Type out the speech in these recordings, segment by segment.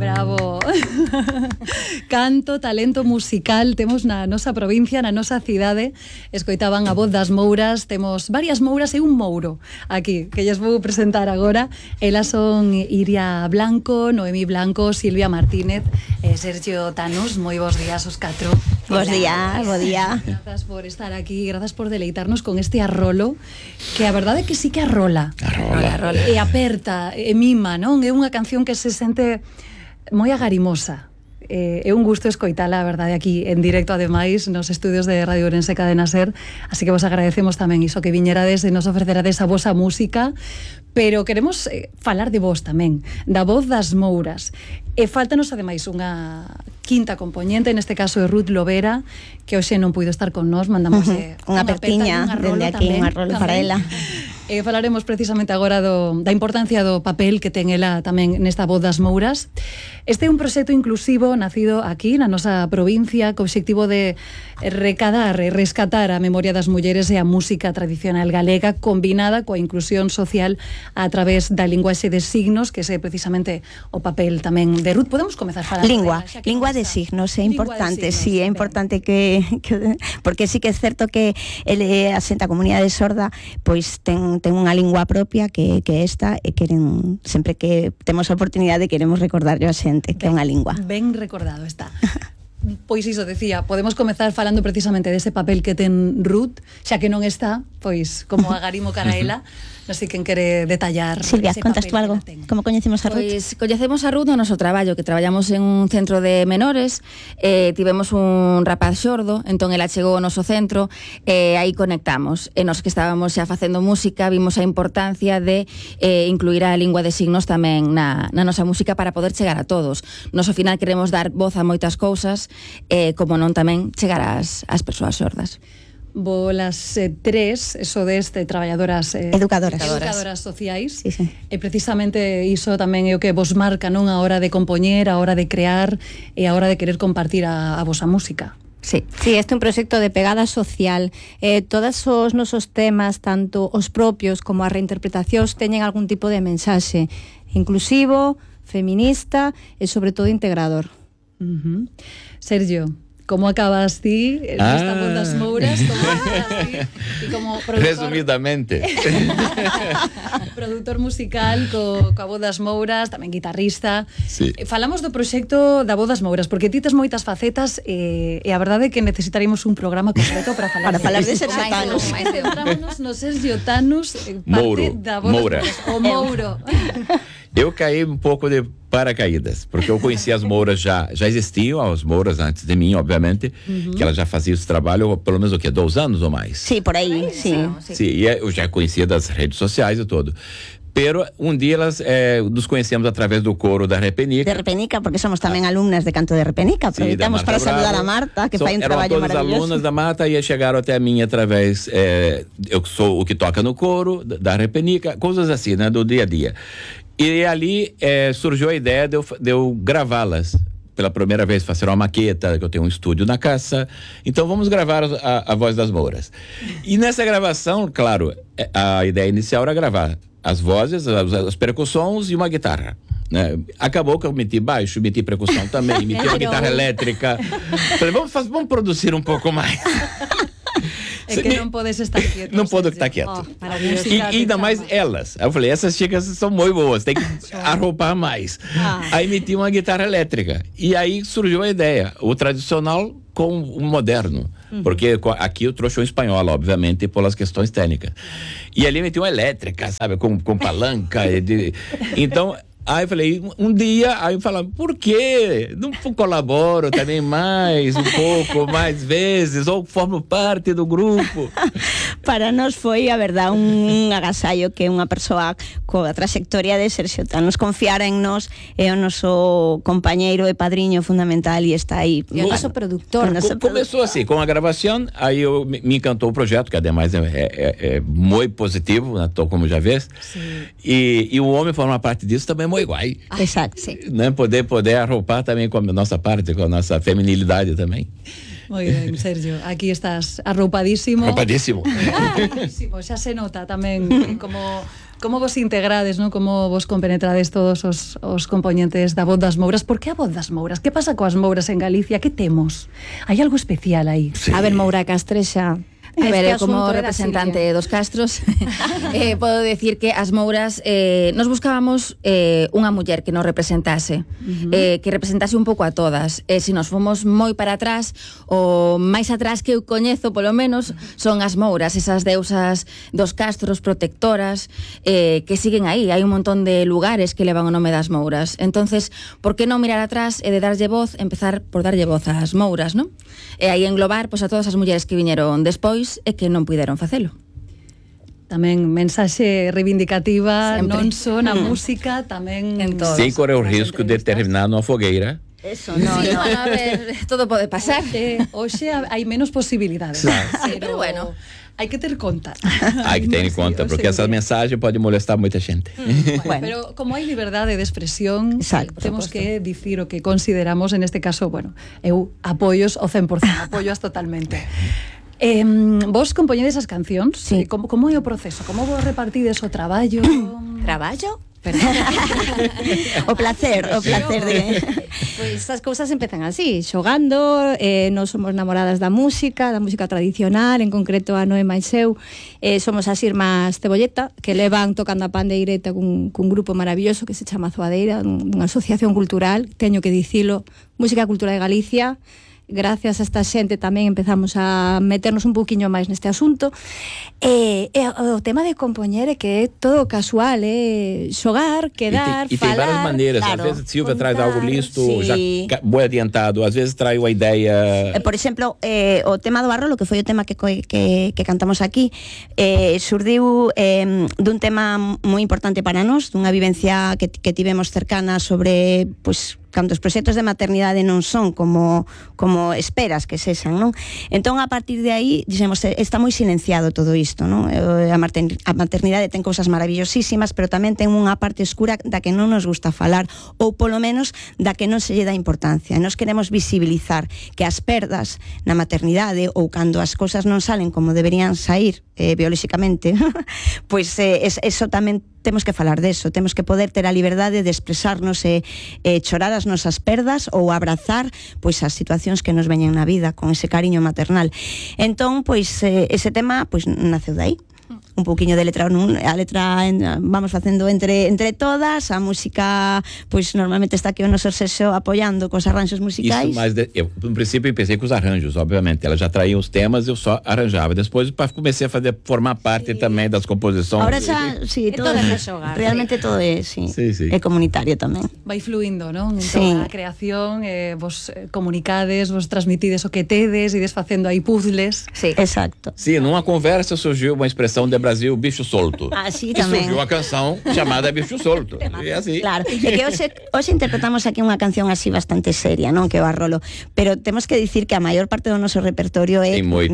Bravo. Canto, talento musical temos na nosa provincia, na nosa cidade. Escoitaban a voz das Mouras. Temos varias Mouras e un Mouro aquí, que lles vou presentar agora. Elas son Iria Blanco, Noemí Blanco, Silvia Martínez e Sergio Tanús. Moi bons días os catro. Bos días, bo día. Grazas por estar aquí, grazas por deleitarnos con este arrolo, que a verdade é que sí que arrola. Arrola. E aperta, e mima, non? É unha canción que se sente moi agarimosa. É un gusto escoitala, a verdade, aquí en directo, ademais, nos estudios de Radio Ourense Cadena Ser, así que vos agradecemos tamén iso que viñerades e nos ofrecerades a vosa música, pero queremos falar de vos tamén, da voz das Mouras. E faltanos, ademais, unha quinta componente, neste caso é Ruth Lovera, que hoxe non puido estar con nós, mandamos unha apertiña dende aquí, unha rolo para ela. Falaremos precisamente agora da importancia do papel que ten ela tamén nesta voz das Mouras. Este é un proxecto inclusivo nacido aquí na nosa provincia co obxectivo de recadar e rescatar a memoria das mulleres e a música tradicional galega combinada coa inclusión social a través da linguaxe de signos, que é precisamente o papel tamén de Ruth. Podemos comezar falando lingua de signos, é importante, sí, é importante que porque sí que é certo que ele asenta a comunidade sorda, pois ten unha lingua propia que esta e queren, sempre que temos a oportunidade queremos recordarlle a xente que é unha lingua. Ben recordado está. Pois iso decía, podemos comezar falando precisamente dese papel que ten Ruth, xa que non está, pois como agarimo cara a ela. Non sei quen quere detallar. Silvia, contas tú algo? Como coñecemos a Ruth? Pois coñecemos a Ruth no noso traballo, que traballamos en un centro de menores, tivemos un rapaz xordo, entón ela chegou ao noso centro e aí conectamos. E nos que estábamos xa facendo música vimos a importancia de incluir a lingua de signos tamén na nosa música para poder chegar a todos. Nos ao final queremos dar voz a moitas cousas, como non tamén chegar ás persoas xordas. Bolas tres, eso deste traballadoras educadoras sociais, sí. E precisamente iso tamén é o que vos marca, non, a hora de compoñer, a hora de crear e a hora de querer compartir a vosa música. Sí, este é un proxecto de pegada social. Todos os nosos temas, tanto os propios como as reinterpretacións, teñen algún tipo de mensaxe inclusivo, feminista e sobre todo integrador. Sergio, como acabas ti nesta voz das Mouras? Como acabas ti? E como produtor, resumidamente, produtor musical coa voz das Mouras, tamén guitarrista. Sí. Falamos do proxecto da voz das Mouras, porque ti tes moitas facetas e a verdade é que necesitaremos un programa completo para falar de Sergio Tanús. Centrámonos no Sergio Tanús, parte da voz Moura. Das Mouras, o Mouro. Eu caí um pouco de paracaídas, porque eu conhecia as Mouras, já existiam as Mouras antes de mim, obviamente, que ela já fazia esse trabalho, pelo menos 2 anos ou mais. Sí, por aí, sim. Sim, e eu já conhecia das redes sociais e tudo. Pero um dia elas nos conhecemos através do coro da Repenica. De Repenica, porque somos tamén alumnas de canto de Repenica. Aproveitamos para saludar a Marta, que fai un traballo maravilloso. Eram todas alunas da Marta e chegaram até a mim através, eu sou o que toca no coro da Repenica, coisas assim, né, do dia a dia. E ali surgiu a ideia de eu gravá-las. Pela primeira vez fazer uma maqueta, que eu tenho um estúdio na casa. Então vamos gravar a voz das Mouras. E nessa gravação, claro, a ideia inicial era gravar as vozes, as percussões e uma guitarra, né? Acabou que eu meti baixo, meti percussão também, meti uma guitarra elétrica. Falei, vamos produzir um pouco mais. É que não podes estar quieto. Não posso estar quieto. E ainda mais elas. Eu falei, essas chicas são muito boas, tem que arroupar mais. Aí meti uma guitarra elétrica. E aí surgiu a ideia, o tradicional com o moderno. Porque aqui eu trouxe um espanhol, obviamente, pelas questões técnicas. E ali meti uma elétrica, sabe, com palanca. Então... Aí eu falei, um dia, aí eu falava, por quê? Não colaboro também mais, um pouco, mais vezes, ou formo parte do grupo. Para nós foi, a verdade, un agasallo que unha persoa coa trayectoria de Sergio Tanús confiara en nós, é o noso compañeiro e padriño fundamental e está aí. E o noso productor. Começou assim, com a gravação, aí me encantou o projeto, que ademais é muito positivo, né, como já vês. E o homem forma parte disso também é muito igual. Exato, sim. Né? Poder arroupar também com a nossa parte, com a nossa feminilidade também. Moi ben, Sergio, aquí estás arroupadísimo. Arroupadísimo. Arroupadísimo, xa se nota tamén como Como vos integrades, non? Como vos compenetrades todos os componentes da Voz das Mouras? Por que a Voz das Mouras? Que pasa coas Mouras en Galicia? Que temos? Hai algo especial aí? Sí. A ver, Moura Castrexa, A ver, como representante dos Castros podo decir que as Mouras nos buscábamos unha muller que nos representase, que representase un pouco a todas. Se nos fomos moi para atrás, o máis atrás que eu coñezo polo menos son as Mouras, esas deusas dos Castros protectoras que siguen aí. Hai un montón de lugares que levan o nome das Mouras. Entonces, por que non mirar atrás e de darlle voz, empezar por darlle voz ás Mouras, non? E aí englobar pois, a todas as mulleres que viñeron despois e que non puideron facelo. Tamén mensaxe reivindicativa, sempre. non só na música, tamén en todo. Sem correr o risco de terminar numa fogueira. Eso, No, a ver, todo pode pasar. Hoxe hai menos posibilidades. Claro. Pero bueno, hai que ter conta. Hay que ter em conta, porque essa mensagem pode molestar muita gente. Bueno, pero como hai liberdade de expresión, Exacto, temos que dicir o que consideramos, en este caso, bueno, eu apoios o 100%, apoios totalmente. Vos compoñedes as cancións? Sí. Como é o proceso? Como vos repartides o traballo? Traballo? o placer de... Pois as cousas empezan así, xogando, nós somos namoradas da música tradicional, en concreto a Noé máis eu, somos as irmás Cebolleta, que levan tocando a pandeireta cun grupo maravilloso que se chama Zoadeira, unha asociación cultural, teño que dicilo, Música Cultura de Galicia. Gracias a esta xente tamén empezamos a meternos un poquinho máis neste asunto. O tema de compoñer é que é todo casual, xogar, quedar, e tem falar. várias maneiras. Claro, às vezes Silvia traz contar, algo listo, sí. já boi adiantado. Às vezes traz uma ideia. Por exemplo, o tema do Barrolo, que foi o tema que cantamos aquí, surdiu dun tema moi importante para nós, dunha vivencia que tivemos cercana sobre, pois, cando os proxectos de maternidade non son como esperas que sexan, non? Entón, a partir de aí, dixemos, está moi silenciado todo isto, non? A maternidade ten cousas maravillosísimas, pero tamén ten unha parte escura da que non nos gusta falar, ou polo menos da que non se lle dá importancia. Nós queremos visibilizar que as perdas na maternidade, ou cando as cousas non salen como deberían sair biolóxicamente, pois eso tamén temos que falar deso, temos que poder ter a liberdade de expresarnos e chorar as nosas perdas ou abrazar pois as situacións que nos veñen na vida con ese cariño maternal. Entón, pois ese tema pois naceu dai. Un pouquiño de letra, a letra vamos facendo entre todas, a música pois normalmente está aquí o noso sexo apoiando cos arranxos musicais. Isso, mas eu, no princípio, pensei com os arranjos, obviamente. Ela já traía os temas, eu só arranjava. Depois, comecei a formar parte também das composições. Ahora xa, sí, todo realmente todo é, sí. É comunitario tamén. Vai fluindo, non? En Sí. toda a creación, vos comunicades, vos transmitides o que tedes, ides facendo aí puzzles. sí. Exacto. Sim, numa conversa surgiu uma expressão de Brasil, bicho solto. Ah, sí, E tamén. surgiu a canção chamada Bicho Solto. E assim. Claro, é que hoxe interpretamos aquí unha canción así bastante seria, non? Que é o Barrolo, pero temos que dicir que a maior parte do noso repertorio é moi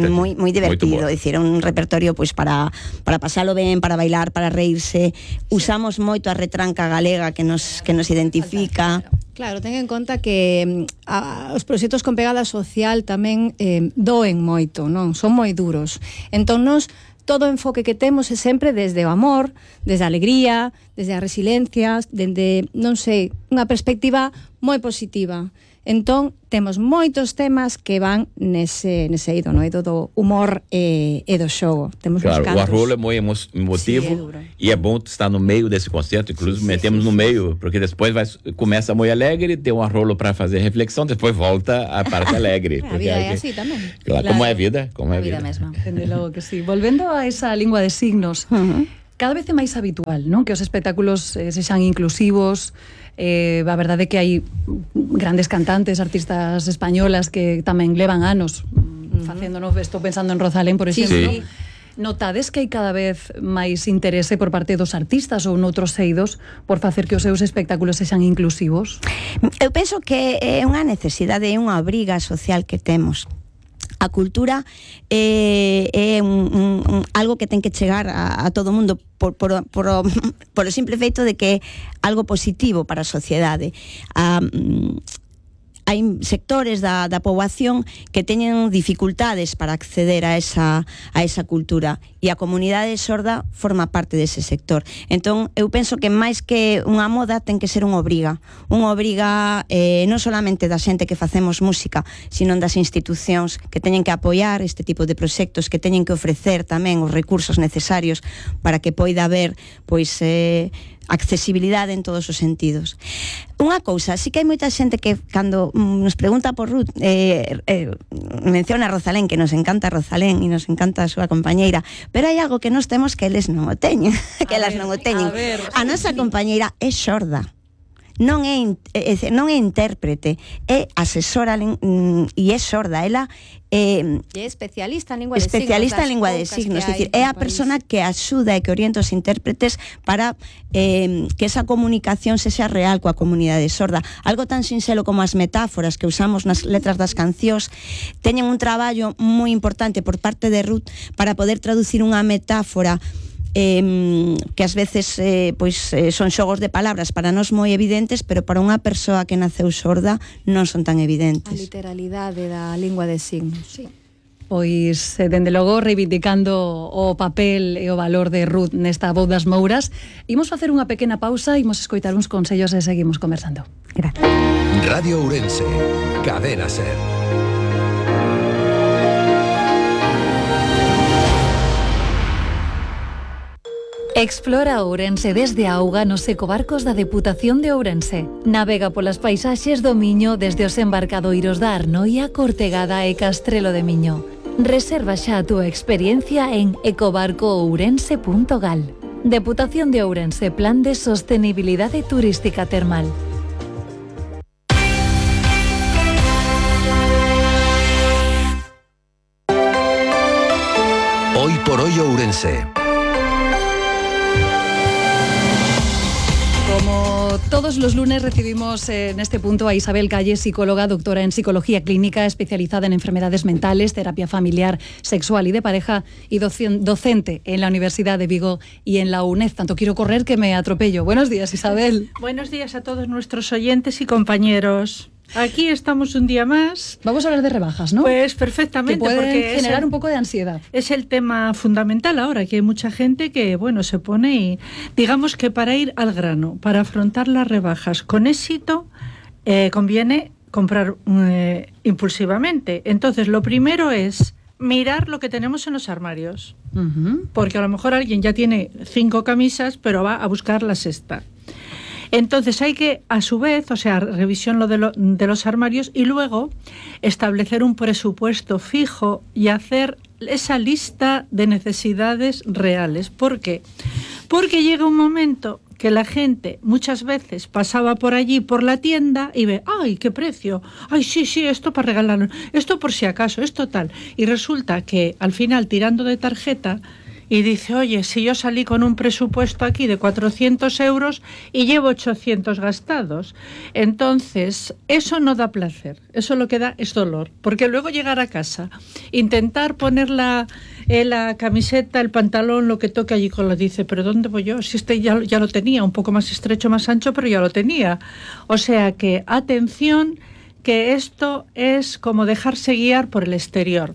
divertido, é dicir, un repertorio pois para pasalo ben, para bailar, para reírse. Usamos moito a retranca galega que nos identifica. Claro, ten en conta que os proxectos con pegada social tamén doen moito, non? Son moi duros. Entón, nos todo o enfoque que temos é sempre desde o amor, desde a alegría, desde a resiliencia, desde, non sei, unha perspectiva moi positiva. Entón, temos moitos temas que van nese eido, no eido do humor e do xogo. Temos claro, uns cantos. o Arrolo é muito emotivo e é bom estar no meio desse concerto, inclusive metemos no meio, porque depois começa muito alegre, tem um Arrolo para fazer reflexão, depois volta a parte alegre. A vida é así tamén. Claro, como é a vida, como é a vida. mesma. Dende logo que sí. Volvendo a esa lingua de signos, cada vez é máis habitual, non? Que os espectáculos sexan inclusivos. A verdade é que hai grandes cantantes, artistas españolas que tamén levan anos facéndonos, estou pensando en Rosalén, por exemplo. Sí. Notades que hai cada vez máis interese por parte dos artistas ou noutros eidos por facer que os seus espectáculos sexan inclusivos? Eu penso que é unha necesidade, é unha obriga social que temos. A cultura é algo que ten que chegar a todo o mundo por o simple feito de que é algo positivo para a sociedade. hai sectores da poboación que teñen dificultades para acceder a esa cultura, e a comunidade sorda forma parte dese sector. Entón, eu penso que máis que unha moda ten que ser unha obriga non solamente da xente que facemos música, sino das institucións que teñen que apoiar este tipo de proxectos, que teñen que ofrecer tamén os recursos necesarios para que poida haber pois accesibilidade en todos os sentidos. Unha cousa, sí que hai moita xente que cando nos pregunta por Ruth menciona a Rosalén, que nos encanta Rosalén e nos encanta a súa compañeira, pero hai algo que nos temos que eles non o teñen, que elas non o teñen. A nosa compañeira é xorda. Non é intérprete, é asesora e é sorda. Ela é especialista en lingua de signos, é dicir, é a persona que axuda e que orienta os intérpretes para que esa comunicación sexa real coa comunidade sorda. Algo tan sinxelo como as metáforas que usamos nas letras das cancións teñen un traballo moi importante por parte de Ruth para poder traducir unha metáfora que ás veces son xogos de palabras para nós moi evidentes, pero para unha persoa que naceu sorda non son tan evidentes. A literalidade da lingua de signos. Sí. Pois, dende logo, reivindicando o papel e o valor de Ruth nesta Voz das Mouras, imos facer unha pequena pausa, imos escoitar uns consellos e seguimos conversando. Gracias. Radio Ourense, Cadena Ser. Explora Ourense desde a auga nos ecobarcos da Deputación de Ourense. Navega polas paisaxes do Miño desde os embarcadoiros da Arnoia, Cortegada e Castrelo de Miño. Reserva xa a túa experiencia en ecobarcoourense.gal. Deputación de Ourense, Plan de Sostenibilidade Turística Termal. Hoy por hoy Ourense. Como todos los lunes recibimos en este punto a Isabel Calle, psicóloga, doctora en psicología clínica, especializada en enfermedades mentales, terapia familiar, sexual y de pareja, y docente en la Universidad de Vigo y en la UNED. Tanto quiero correr que me atropello. Buenos días, Isabel. Buenos días a todos nuestros oyentes y compañeros. Aquí estamos un día más. Vamos a hablar de rebajas, ¿no? Pues perfectamente. Que pueden porque generar un poco de ansiedad. Es el tema fundamental ahora, que hay mucha gente que, se pone y, digamos que para ir al grano, para afrontar las rebajas con éxito, conviene comprar impulsivamente. Entonces, lo primero es mirar lo que tenemos en los armarios. Porque a lo mejor alguien ya tiene 5 camisas, pero va a buscar la sexta. Entonces hay que, a su vez, revisión de los armarios y luego establecer un presupuesto fijo y hacer esa lista de necesidades reales. ¿Por qué? Porque llega un momento que la gente muchas veces pasaba por allí, por la tienda, y ve, ¡ay, qué precio! ¡Ay, sí, esto para regalarlo! Esto por si acaso, esto tal. Y resulta que al final, tirando de tarjeta, y dice, oye, si yo salí con un presupuesto aquí de 400 euros y llevo 800 gastados. Entonces, eso no da placer, eso lo que da es dolor, porque luego llegar a casa, intentar poner la camiseta, el pantalón, lo que toque allí con lo dice, pero ¿dónde voy yo? Si ya lo tenía, un poco más estrecho, más ancho, pero ya lo tenía. O sea que, atención, que esto es como dejarse guiar por el exterior.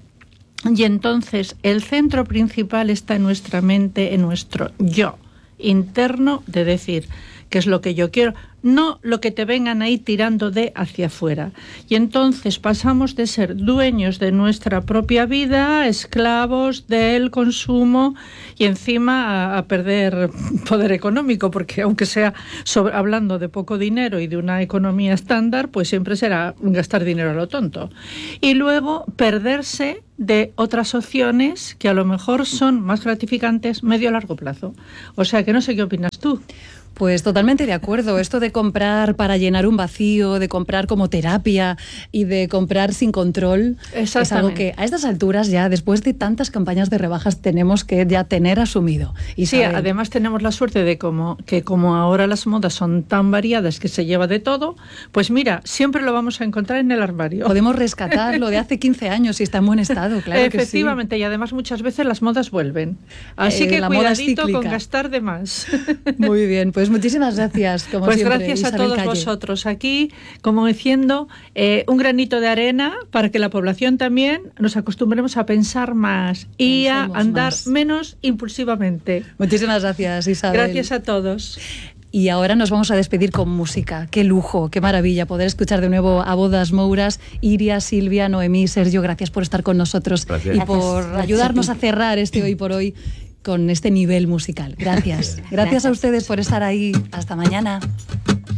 Y entonces el centro principal está en nuestra mente, en nuestro yo interno, de decir qué es lo que yo quiero, no lo que te vengan ahí tirando de hacia afuera. Y entonces pasamos de ser dueños de nuestra propia vida, esclavos del consumo y encima a perder poder económico, porque aunque sea hablando de poco dinero y de una economía estándar, pues siempre será gastar dinero a lo tonto. Y luego perderse de otras opciones que a lo mejor son más gratificantes medio a largo plazo. O sea que no sé qué opinas tú. Pues totalmente de acuerdo. Esto de comprar para llenar un vacío, de comprar como terapia y de comprar sin control, es algo que a estas alturas ya, después de tantas campañas de rebajas, tenemos que ya tener asumido. Sí, además tenemos la suerte de que como ahora las modas son tan variadas que se lleva de todo, pues mira, siempre lo vamos a encontrar en el armario. Podemos rescatar lo de hace 15 años y está en buen estado, claro. Efectivamente, que sí. Y además muchas veces las modas vuelven. Así que cuidadito con gastar de más. Muy bien, pues Pues muchísimas gracias, como pues siempre, gracias a Isabel todos Calle. vosotros aquí, como diciendo, un granito de arena para que la población también nos acostumbremos a pensar más y a andar menos impulsivamente. Muchísimas gracias, Isabel. Gracias a todos. Y ahora nos vamos a despedir con música. Qué lujo, qué maravilla poder escuchar de nuevo a Bodas Mouras. Iria, Silvia, Noemí, Sergio, gracias por estar con nosotros y por ayudarnos a cerrar este Hoy por Hoy con este nivel musical. Gracias. Gracias a ustedes por estar ahí. Hasta mañana.